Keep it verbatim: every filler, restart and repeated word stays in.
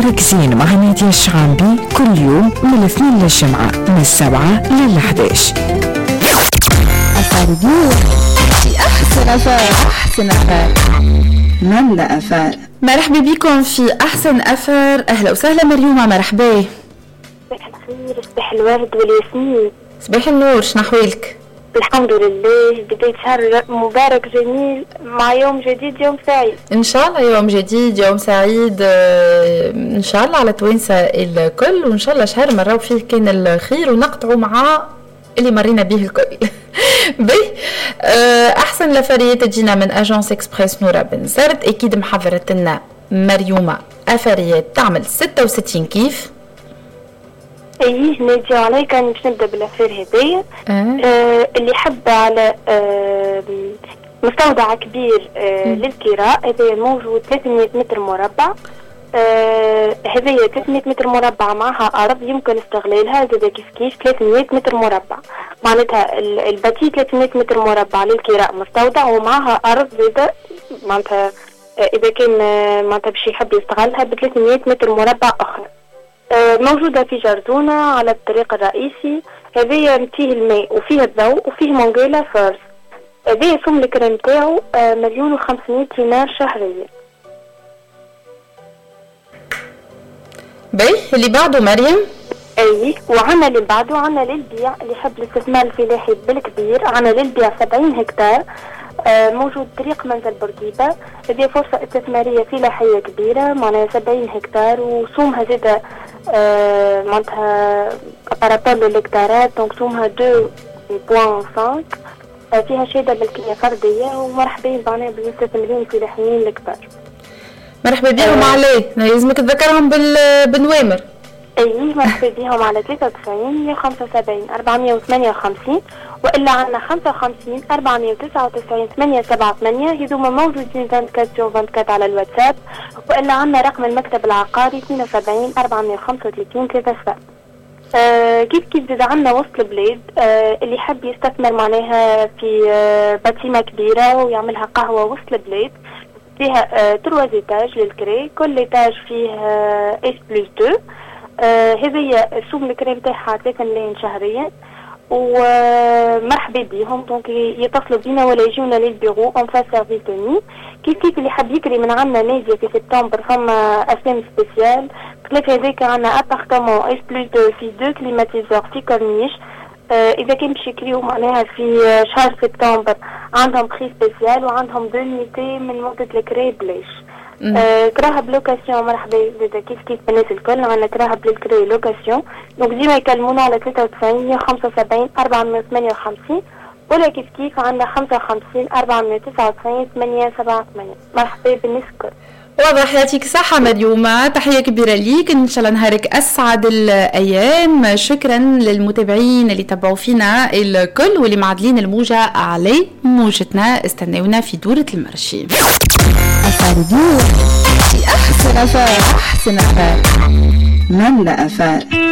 نهارك زين مع نادية الشعامبي كل يوم من الاثنين للجمعة من السبعة للحداش. affaire في أحسن affaire، أحسن affaire، ملا affaire. مرحبا بكم في أحسن affaire. أهلا وسهلا مريومة، مرحبا. صباح الخير، صباح الورد والياسمين. صباح النور، شنو أحوالك؟ الحمد لله، بداية شهر مبارك جميل مع يوم جديد يوم سعيد. إن شاء الله يوم جديد يوم سعيد إن شاء الله على توانسة الكل، وإن شاء الله شهر مراو فيه كان الخير ونقطعوا مع اللي مرينا به الكل. بي أحسن l'affaire تجينا من Agence Express نورا بن زرد، أكيد محضرت لنا مريومة affaire تعمل ستة وستين كيف. ايه نادي عليك، انا باش نبدا بال affaire هذايا. أه. آه اللي حب على آه مستودع كبير آه للكراء، هذايا موجود ثلاثمية متر مربع. آه هذايا ثلاثمية متر مربع معها ارض يمكن استغلالها زادا كيف كيف ثلاثمية متر مربع، معناتها ال bâti ثلاثمية متر مربع للكراء مستودع ومعها ارض زادا، معناتها اذا كان معناتها باش يحب يستغلها ب ثلاثمية متر مربع اخرى. موجودة في جردونة على الطريق الرئيسي. هذايا فيه الماء وفيه الضوء وفيه مونغيلا فورس. هذايا سوم الكرا نتاعو مليون وخمسمية دينار شهريا. باهي، اللي بعده مريم. اي، وعنا اللي بعده عنا للبيع اللي يحب الاستثمار الفلاحي بالكبير، عنا للبيع سبعين هكتار موجود طريق منزل بورقيبة. هذه فرصة استثمارية فلاحية كبيرة، معناها سبعين هكتار وسومها زادة آه معناتها par rapport للهكتارات، donc سومها اثنين فاصلة خمسة. فيها شهادة ملكية فردية، ومرحبا معناها بالمستثمرين الفلاحيين الكبار. مرحبا بهم. آه عليه لازمك تذكرهم بالنوامر. اي مرحبا بهم على ثلاثة وتسعين مية وخمسة وسبعين أربعمية وثمانية وخمسين، والا عندنا خمسة وخمسين أربعمية وتسعة وتسعين ثمانية سبعة ثمانية، هذوما موجودين أربعة وعشرين أربعة وعشرين على الواتساب، والا عندنا رقم المكتب العقاري اثنين وسبعين أربعمية وخمسة وثلاثين ثلاثة صفر. آه كيف كيف زاد عندنا وسط البلاد، آه اللي يحب يستثمر معناها في آه bâtiment كبيرة ويعملها قهوة وسط البلاد، فيها آه trois étages للكري، كل étage فيه آه S plus اثنين. هذه السوم الكري نتاعها ثلاثة ملايين شهريا، ومرحبا بهم. donc يتصلوا بينا ولا يجونا لل bureau en face service توني. كيف كيف اللي حاب يكري من عندنا نادية في سبتمبر فما اسامي spécial. خلاف هذاك عندنا appartement S plus اثنين في deux climatiseurs في كورنيش. آه اذا كان باش يكريو معناها في شهر سبتمبر عندهم prix spécial وعندهم deux nuitées من مدة الكري بلاش. آه كراهب location مرحبا زادا كيف كيف بالناس الكل، عندنا كراهب للكري location. donc ديما يكلمونا على ثلاثة وتسعين مية وخمسة وسبعين أربعمية وثمانية وخمسين، ولا كيف كيف عندنا خمسة وخمسين أربعمية وتسعة وتسعين ثمانية سبعة ثمانية. مرحبا بالناس الكل. واضح، يعطيك صحة مريومة، تحية كبيرة ليك، إن شاء الله نهارك أسعد الأيام. شكرا للمتابعين اللي تبعوا فينا الكل واللي معدلين الموجة علي موجتنا. استنونا في دورة ال marché. affaire في أحسن affaire، أحسن affaire، ملا affaire.